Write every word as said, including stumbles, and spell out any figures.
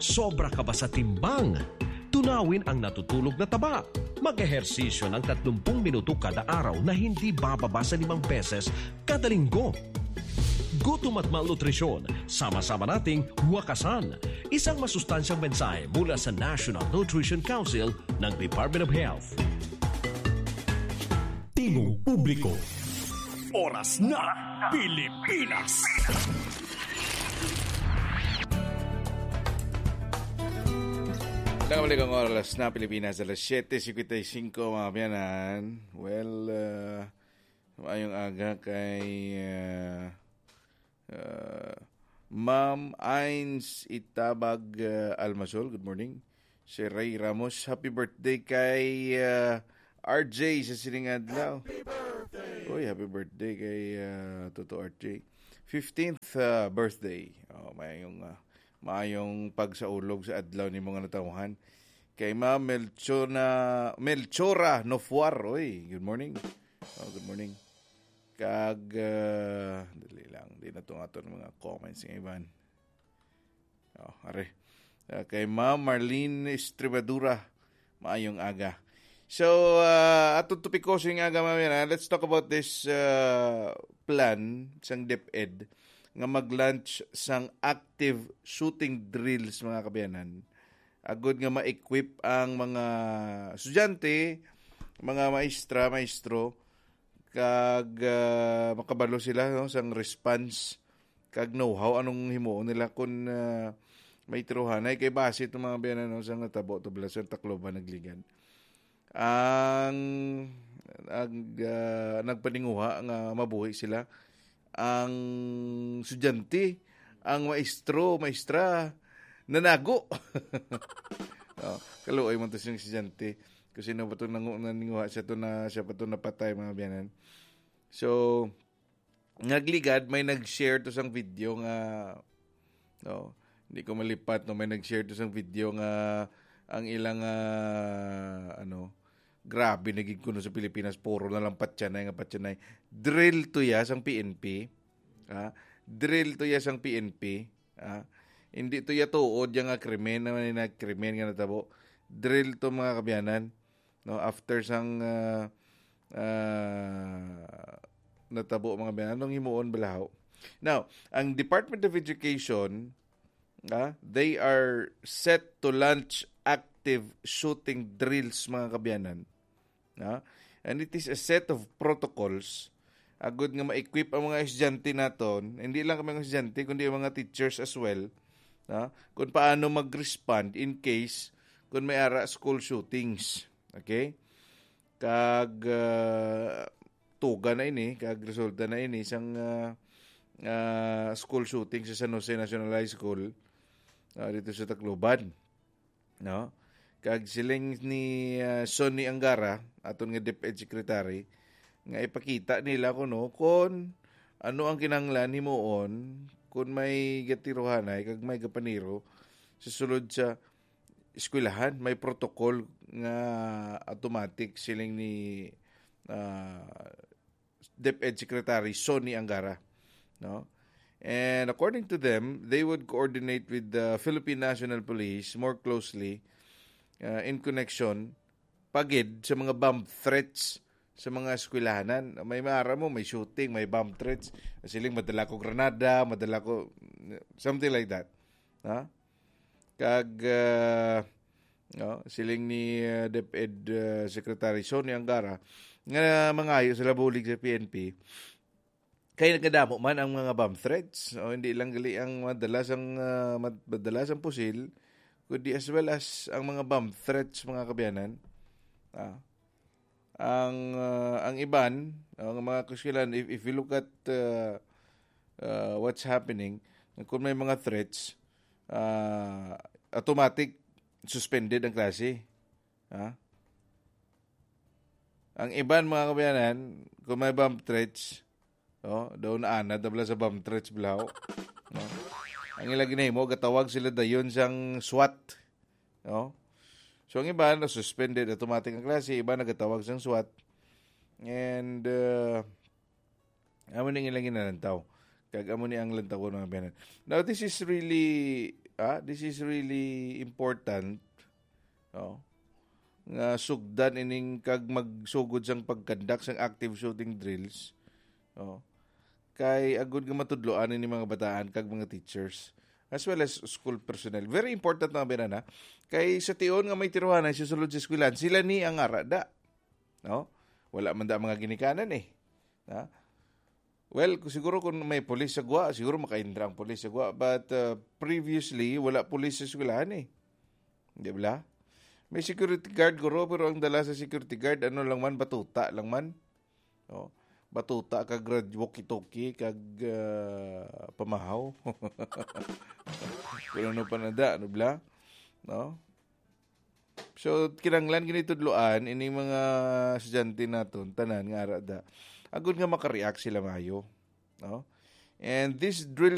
Sobra ka ba sa timbang? Tunawin ang natutulog na taba. Mag-ehersisyo ng tatlumpung minuto kada araw na hindi bababa sa limang beses kada linggo. Gutom at malnutrisyon, sama-sama nating wakasan. Isang masustansyang mensahe mula sa National Nutrition Council ng Department of Health. Tingog Publiko. Oras na, Pilipinas. Nakabalik ang oras na Pilipinas, alas siyete cincuenta y cinco, mga kaabyanan. Well, uh, maayong aga kay, uh, uh, Ma'am Ains Itabag, uh, Almasol. Good morning. Si Ray Ramos, happy birthday kay, uh, R J sa sining adlaw. Happy birthday! Uy, happy birthday kay, uh, Toto R J. Fifteenth, uh, birthday. Oh, maayong, uh, maayong pagsaulog sa adlaw ni mga natawhan. Kay Ma'am Melchona, Melchora Nofuar. Uy, good morning. Oh, good morning. Kag, uh, dali lang. Di na itong aton mga comments ng iban. Oh, are. Uh, kay Ma'am Marlene Estribadura, maayong aga. So, uh, atong topiko sa nga aga, mga kaabyanan, let's talk about this, uh, plan sang DepEd nga mag-launch sang active shooting drills, mga kaabyanan. Agud nga ma-equip ang mga estudyante, mga maestra, maestro, kag, uh, makabalo sila, no, sang response kag know-how, anong himuon nila kung, ah, may tirohanay. Kay base itong mga kaabyanan, no, sa natabo, tubla sa Tacloban, Nagligan. Ang, ang, ah, nagpaninguha nga mabuhi sila, ang estudyante, ang maestro, maestra, nanago. Oh, kaluoy man to siyang estudyante. Kung sino ba itong nangu-, naninguha, siya to na, siya pa to napatay, mga kaabyanan. So, Nagligan, may nag-share to sang video nga, no, hindi ko malipat, no, may nag-share to sang video nga ang ilang, ah, ano, grabe na gid kuno sa Pilipinas, puro na lang patyanay nga patyanay. Drill to ya sang P N P, ha? Drill to ya sang P N P, ha? Hindi to ya tuod ya nga krimen, na may nagkrimen nga natabo. Drill to, mga kaabyanan, no, after sang, ah, ah, natabo, mga kaabyanan, anong himuon bala? Now, ang Department of Education, ah, they are set to launch active shooting drills, mga kaabyanan. Ah, and it is a set of protocols agud nga ma-equip ang mga estudyante naton, hindi lang kami mga estudyante, kundi ang mga teachers as well, ah, kung paano mag-respond in case kung may ara school shootings. Okay? Kag, ah, tuga na ini, kag resulta na ini sang, ah, ah, school shooting sa San Jose National High School, ah, dito sa Tacloban, no? Kag siling ni, ah, Sonny Angara, aton nga DepEd Secretary, nga ipakita nila kuno kon ano ang kinahanglan himuon kon may gatirohanay kag may gapaniro sa sulod sa eskwelahan. May protocol nga automatic, siling ni, ah, DepEd Secretary Sonny Angara, no? And according to them, they would coordinate with the Philippine National Police more closely, uh, in connection pagid sa mga bomb threats sa mga eskwelahanan. May maara mo, may shooting, may bomb threats. Siling, "Madala ko granada, madala ko," something like that. Ha? Kag, ah, no, siling ni, ah, DepEd, ah, Secretary Sonny Angara, nga mangayo sila bulig sa P N P. Kay nagadamo man ang mga bomb threats. O, hindi lang gali ang madala sang, ah, mad-, madala sang pusil, kundi as well as ang mga bomb threats, mga kaabyanan. Ah, ang, ah, ang iban, ang mga kaeskwelahan, if, if you look at, ah, ah, what's happening, kung may mga threats, ah, automatic suspended ang klase. Ha? Ang iban, mga kaabyanan, kung may bomb threats, oh, daw naanad na bala sa bomb threats, bala, oh. No? Ang ila ginahimo, gatawag sila dayon sang SWAT. No? So, ang iban, na-suspended automatic ang klase, iban nagatawag sang SWAT. And, uh, amo ni ang ilang ginalantaw. Kag amo ni ang lantawon, mga kaabyanan. Now, this is really ah, this is really important, no? Nga sugdan ining kag magsugod sang pagkandak sang active shooting drills, no? Kay agud nga matudloan ini mga bataan kag mga teachers as well as school personnel. Very important na binana. Kay sa tion nga may tiruhanay sa sulod sa eskwelahan, sila ni ang ara da. No? Wala man da mga ginikanan eh. Ha? Well, ku- siguro kung may pulis sa Guwa, siguro makaindra ang pulis sa Guwa. But uh, previously, wala pulis sa eskwelahan eh. Di ba? May security guard guro, pero ang dala sa security guard, ano lang man, batuta lang man. Oh, batuta kag rad-, walkie-talkie kag ah, pamahaw. Kung ano pa nada, ano bla? No? So, kinahanglan gani tudloan ini mga estudyante naton, tanan nga ara da. Agud nga maka-react sila mayo, no? And this drill